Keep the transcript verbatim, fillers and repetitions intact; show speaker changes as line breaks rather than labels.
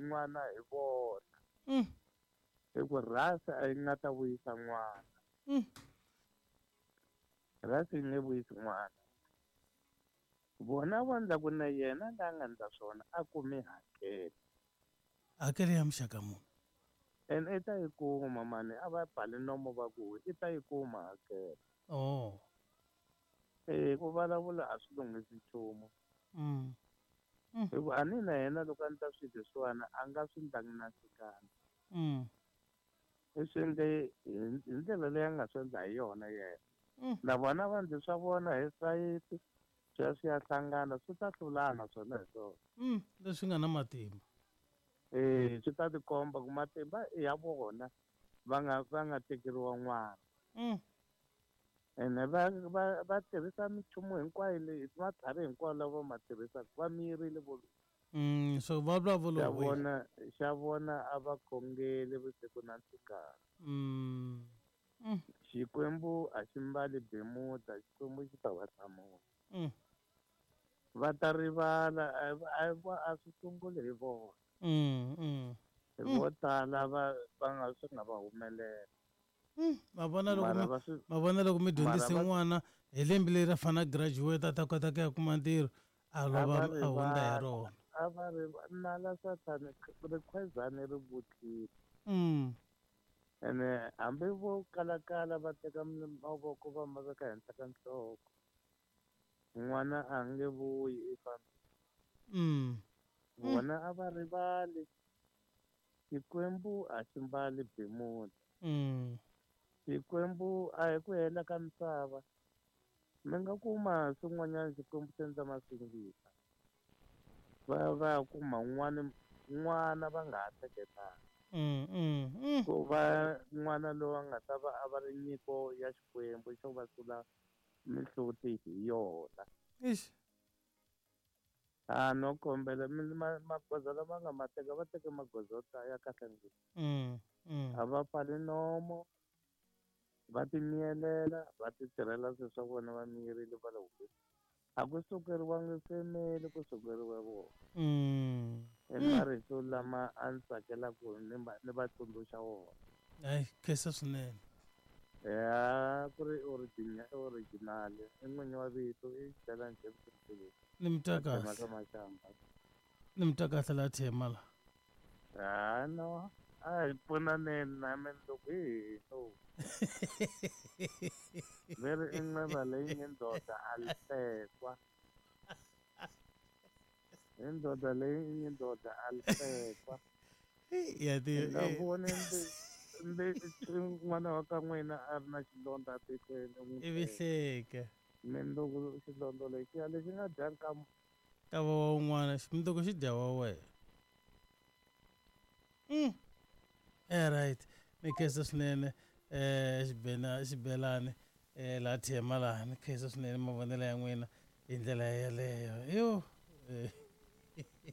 n'wana hi vona.
Mm.
Hi ku rhasi a yi nga ta vuyisa n'wana.
Mm.
Rhasi yi nge vuyisi n'wana. Vona va ndla ku na yena la nga ndla swona a kumi hakelo.
Hakelo ya muxaka muni?
Ene i ta yi kuma mani, a va bali nomo va ku i ta yi kuma hakelo.
Oh.
Eh, ku vulavula a swi lunghisi nchumu.
Mm. Mm.
Hi ku a ni na yena loko a ni ta swi leswiwani a nga swi ndlangi na xikandza.
Mm.
I swi endle hi hi ndlela leyi a nga swi endla hi yona yena.
Mm.
Na vona va ndzi swa vona hi sayiti, swi ya swi ya hlangana, swi ta hlulana swona hi swona.
Mm. Leswi nga na matimba.
Eh, swi ta tikomba ku matimba i ya vona va nga va nga tekeriwa n'wana.
Mm.
Ene va va va tirhisa minchumu hinkwayo leyi, matlhari hinkwayo lawa va ma tirhisaka, va miyerile vo.
Mm, so va vulavula
Xa
vo wena.
vona, xa vona a va khongeli vusiku na nhlikani.
Mm. Mm.
Xikwembu a xi mbali bemuda, Xikwembu xi ta va hlamula.
Mm.
Va ta rivala, a a a swi sunguli hi vona.
Mm, mm.
Hi vo tala va va nga swi nga va humelela.
Mm. Ma vona loko
Mara
mi
va swi
ma vona loko mi dyondzise
mara va
n'wana hi lembe leri a fanele a graduate a ta kota ku ya kuma ntirho, a
a
lova
va
a hundza hi
rivala,
rona.
a va rivala nala sathani rikhwezani ri vutlile.
Mm.
Ene hambi vo kalakala va teka mavoko va ma veka henhla ka nhloko, n'wana a nge vuyi i fambile.
Mm.
Vona a va rivali, Xikwembu a xi mbali bemuda.
Mm.
Xikwembu a hi ku hela ka misava. Mi nga kuma swin'wanyana Xikwembu xi endla masingita. Va va ya kuma n'wana n'wana va nga ha hleketanga.
Mm, mm, mm.
Ku va n'wana loyi a nga ta va a va ri nyiko ya Xikwembu xo va sula mihloti hi yona.
Ixi.
A no kombela ma magoza lama nga ma teka, va teke magoza yo ta ya kahle ngopfu.
Mm, mm.
A va pfali nomo, va ti miyelela, va ti tirhela swilo swa vona va miyerile va le hofisini. A ku sukeriwangi family, ku sukeriwe vona.
Mm.
I marito lama a ni tsakelaka ni va ni va tsundzuxa wona.
Hayi, khensa swinene.
Ya ku ri original, original i n'winyi wa vito i Xibelani James.
Ni mi twa kahle.
Ka Mashamba.
Ni mi twa kahle la Thema la.
Ha no, a hi pfunaneni na mina loko hi no. Veri i nqeva leyi nge ndoda a li hlekwa. I ndoda leyi nge ndoda a li hlekwa.
Ya ti
Nga voni mbi n'wana wa ka n'wina a ri na xilondza atihlweni u n'wi
Ivi hleka.
Mindzuku xilondza lexiya lexi nga dya ka
ka wa un'wana, mindzuku xi dya wa wena. Mm. Eh right. Ni khensa swinene eh xibena xibelani eh la Thema laha ni khensa swinene mavonelo ya n'wina hi ndlela yeleyo. Yo.